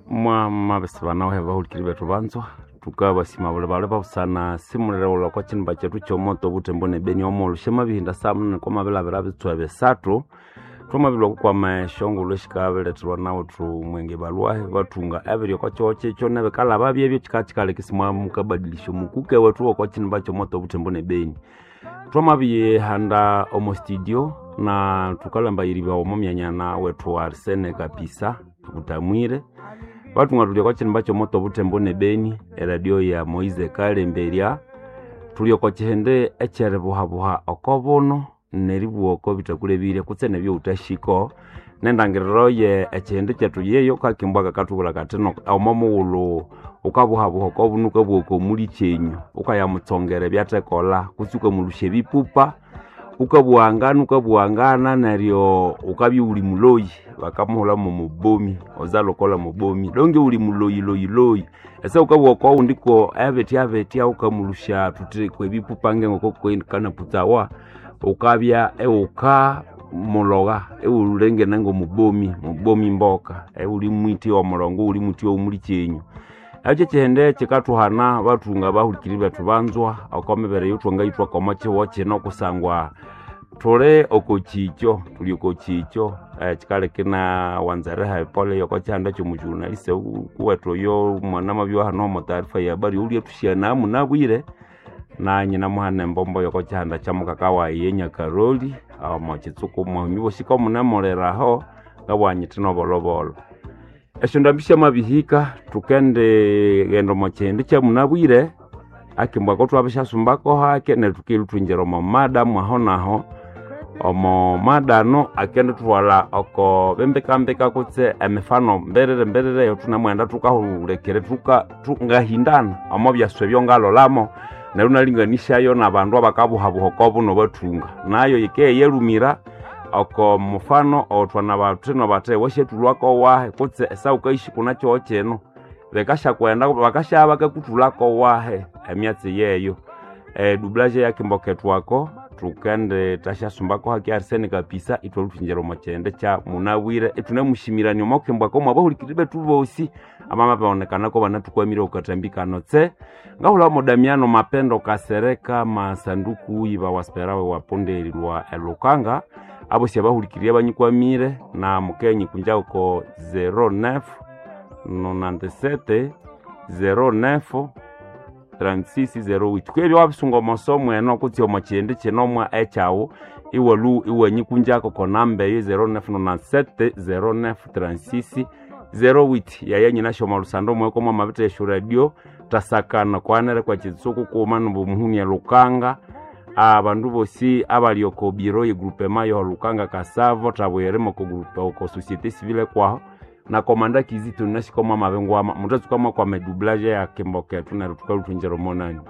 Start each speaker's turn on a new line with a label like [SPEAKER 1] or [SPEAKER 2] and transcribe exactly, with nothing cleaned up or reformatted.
[SPEAKER 1] Mwamabese banawe bahulikiri bethu banzwa tukabasima buli bali babusana simulirewula okwa kinimba kyethu kyomoto obutembo nebeni omulhu syamabihinda saa munani kwamabilabira bitswa bisathu twamabilwa okukwama esyongulhu esikabiletherwa nawuthu mwenge balwahi bathunga ebiri okwa kihogho kyekyo nebikalaba byebyo kikakikaleka isimwamukabadilisya omukuke wethu wokwa kinimba kyomoto obutembo nebeni. Twamabiyihanda omo studio na thukalhambayiribwa omo myanya na wethu Arsene Kapisa Butamwire bathunga thuli okwa kinimba kyomoto obutembo nebeni eradio ya Moise Kalemberya. Thuli oko kihindi ekyeribuhabuha oko buno neribugha oko bithakulebire kutse nebyowuthahiko nendangiriro ye ekihindi kyethu yeyo kakimbwa kakathubwira kathi no omo mughulhu wukabuhabuha oko buno wukabugha oko muli kyenyu wukayamutsongera ebyathekolha kutse wukamulhusya ebipupa wukabughangana wukabughangana neryo wukabya iwuli muloyi bakamuhulha mwomubomi ozalhukolha mubomi donge iwuli muloyi loyi loyi. Ese wukabugha oko wundi ko ebitya bitya wukamulhusya thuthi kwebipupa ngengoko kanaputsawa wukabya iwuka mulogha iwulengena ngomubomi mubomi mboka iwuli mwithi owo mulongo iwuli mwithi owomuli kyenyu. Ekyo kyihindi kyikathuhana bathunga abahulikiriri bethu banzwa oko mibere eyothwangayithwako omo kihugho kino kusangwa thuli oko kikyo thuli oko kikyo kyikaleka inawanza eriha epole yoko kyihanda kyomujournalist kuwethu oyo omwana amabya hano omo taarifa ya habari oulyathusya munabwire nanye namuhana embombo yoko kyihanda kya mukaka wayi ye Nyakaroli omo kitsuku mwahumi bosi komunemuliraho ngabugha nyithi nobolobolo. Esyondambi syamabihika thukendighenda omo kihindi kyamunabwire akimbwa ako thwabishyasumbako hake neryo thukilhuthwingira omo mada mwaho naho omo mada ano akendithwalha oko bimbikambika kutse emifano mbiriri mbiriri eyothunamwenda thukahulekere thuka ngahindana omo byaswa ebyo ngalholamo neryo inalinganisyayo nabandu abakabuhabuha oko buno bathunga nayo yikeyelhumira oko mufano owothwanabathino bathi wasyathulhwako wahi kutse esawukayisi kuna kihogho kino bikasyakwenda bakasyabya bakakuthulhako wahi emyatsi yeyo. Edublage eyakimbo kethu ako thukendithasyasumbako hake Arsene Kapisa ithwalhuthwingira omo kihindi kya munabwire ithunemusimirania omo kimbo ako mwabahulikiriri bethu bosi abamabyonekanako banathukwamire okwa kathambi kano tse. Ngahulha Damiano Mapendo Kasereka Masanduku iba wasperawe waponderilwa elukanga abosi abahulikiriri abanyikwamire na mukenyi kunja oko zero neuf nonante-sept zero neuf trente-six zero huit. Kwebyo wabisunga omo somo eno kutse omo kihindi kino mwa ekyawu iwalhu iwanyikunjako oko namba eyo zero neuf nonante-sept zero neuf trente-six zero huit. Yaya nyinasyo omo lusando mweko mwamabitha esyo radio thasakana kwanere kwa kitsuku kughuma nomuhuni elukanga abandu bosi abali oko biro ye groupement yo Lukanga Kasavo thabuyirimo oko group oko société civile kwaho na komanda Kizito nashika mwamabingwama muthatsuka mwakwama edublage ya kimbo kethu neryo thukalhuthwingira omo nani.